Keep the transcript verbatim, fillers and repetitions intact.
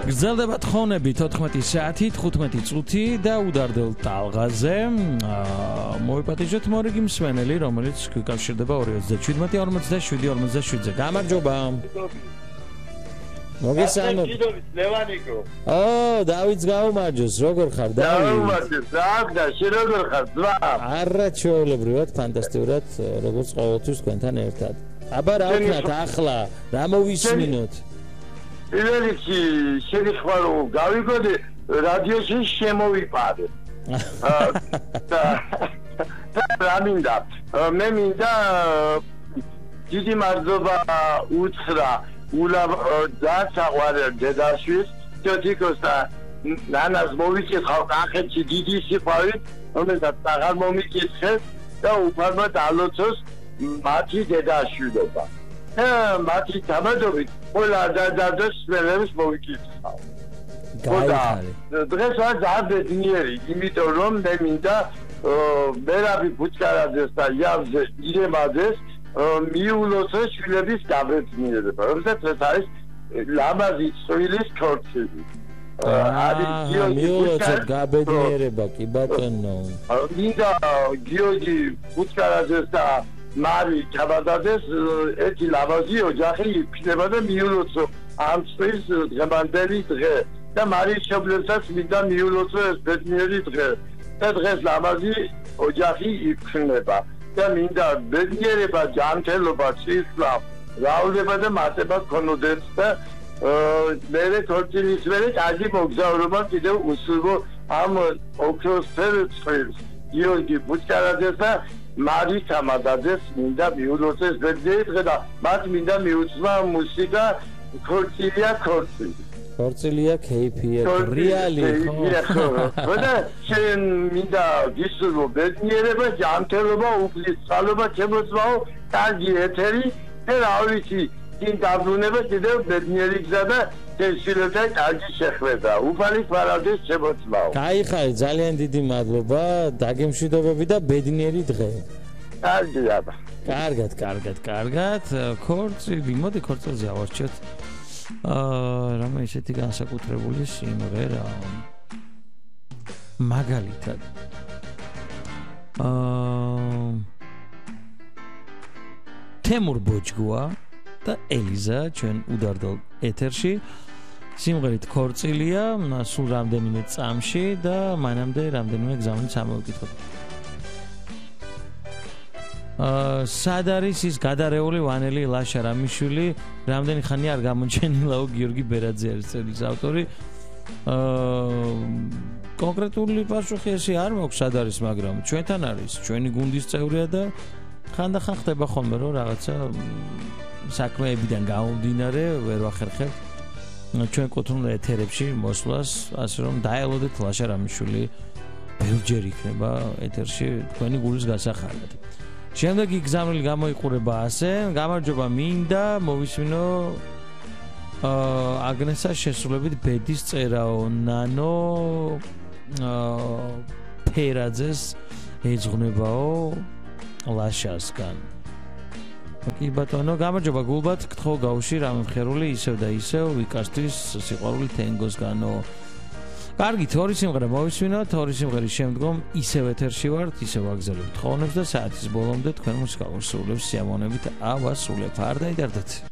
გრძელდება თხოვნები თოთხმეტი საათი თხუთმეტი წუთი და უდარდელ ტალღაზე მოვიპატიჟოთ მორიგი მსმენელი, რომელიც გვიკავშირდება ორი ოცდაშვიდმეტი ორმოცდაშვიდი ორმოცდაშვიდზე. გამარჯობა. მოგესალმებით. ლევანიკო. ო, დავითს გაუმარჯოს, როგორ ხარ, დავით? გაუმარჯოს, და შენ როგორ ხარ, ძმა? არა, ჩვეულებრივად, ფანტასტიკურად, როგორც ყოველთვის თქვენთან ერთად. აბა რა ვქნათ ახლა, რა მოვისმინოთ? ილერიქი შეგეხმარ რომ გავიგოდე რადიოში შემოვიპარე. და რა მინდა? მე მინდა დიდი მადლობა უთხრა ულა დაცაღვარე დედაშვილს, თითქოს და ნანას მოვიკითხავ კახეთში დიდი სიყვარული, რომელსაც აღარ მომიკითხეს და უფალმა დალოცოს მათი დედაშვილობა. მათი თამადობით ყველა დადადოს სპელებს მოვიკითხავ. გაიხარე. დღეს ვარ ძაბედნიერი, იმიტომ რომ მე მინდა მერაბი ბუჩკარაძეს და იავზე ირემაძეს მიულოცო შვილების გაბედნიერება, რომელსაც ეს არის ლამაზი წვილის ქორწილი. აა მიულოცოთ გაბედნიერება, კი ბატონო. მინდა გიორგი ბუჩკარაძეს და მარი ჩაბადაძეს ერთი ლამაზი ოჯახი იქნება და მიულოცო ამ წლის დღევანდელი დღე და მარი შობლებსაც მინდა მიულოცო ეს ბედნიერი დღე და დღეს ლამაზი ოჯახი იქნება და მინდა ბედნიერება, ჯანმრთელობა, სისხლი, რაოდენობა და მატება გქონოდეს და მერე ქორწილის მერე კარგი მოგზაურობა კიდევ უსურვო ამ ოქროსფერ წყვილს გიორგი ბუჩკარაძეს და მარი თამადაძეს მინდა მიულოცეს ბედნიერი დღე და მათ მინდა მიუძღვა მუსიკა ქორწილია ქორწილი. ქორწილია ქეიფია, რეალი ხო? და შენ მინდა გისურვო ბედნიერება, ჯანმრთელობა, უფლისწყალობა, ჩემოწმაო, კარგი ეთერი და რა ვიცი, წინ დაბრუნება კიდევ ბედნიერი გზა და შვილებთან კარგი შეხვედრა. უფალი ფარავდეს შემოწმაო. გაიხარე, ძალიან დიდი მადლობა, დაგემშვიდობები და ბედნიერი დღე. კარგი აბა. კარგად, კარგად, კარგად. ქორწილი, მოდი ქორწილზე ავარჩიოთ. აა, რამე ისეთი განსაკუთრებული სიმღერა. მაგალითად. აა თემურ ბოჯგუა და ელიზა ჩვენ უდარდელ ეთერში. სიმღერით ქორწილია, სულ რამდენიმე წამში და მანამდე რამდენიმე გზავნით ამოვიკითხოთ. აა სად არის ის გადარეული ვანელი ლაშა რამიშვილი, რამდენი ხანი არ გამოჩენილაო გიორგი ბერაძე არის წელის ავტორი. აა კონკრეტული პასუხი ესე არ მაქვს სად არის, მაგრამ ჩვენთან არის, ჩვენი გუნდის წევრია და ხანდახან ხდება ხოლმე რომ რაღაცა საქმეებიდან გამომდინარე ვერ ვახერხებთ ჩვენ კუთვნილ ეთერებში მოსვლას, ასე რომ დაელოდეთ ლაშა რამიშვილი ბევრჯერ იქნება ეთერში თქვენი გულის გასახარად. შემდეგი გზავნილი გამოიყურება ასე, გამარჯობა მინდა მოვისმინო აა აგნესას შესრულებით ბედის წერაო ნანო აა ფერაძეს ეძღვნებაო ლაშასგან. კი ბატონო, გამარჯობა გულბათ, გთხოვ გავუში რამე მხერული ისევ და ისევ ვიკასთვის სიყვარული თენგოსგანო. კარგით, ორი სიმღერა მოვისმინოთ, ორი სიმღერის შემდგომ ისევ ეთერში ვართ, ისევ ვაგზავნებთ თხოვნებს და საათის ბოლომდე თქვენ მუსიკალურ სრულებს სიამოვნებით ავასრულებ. არ დაიდარდეთ.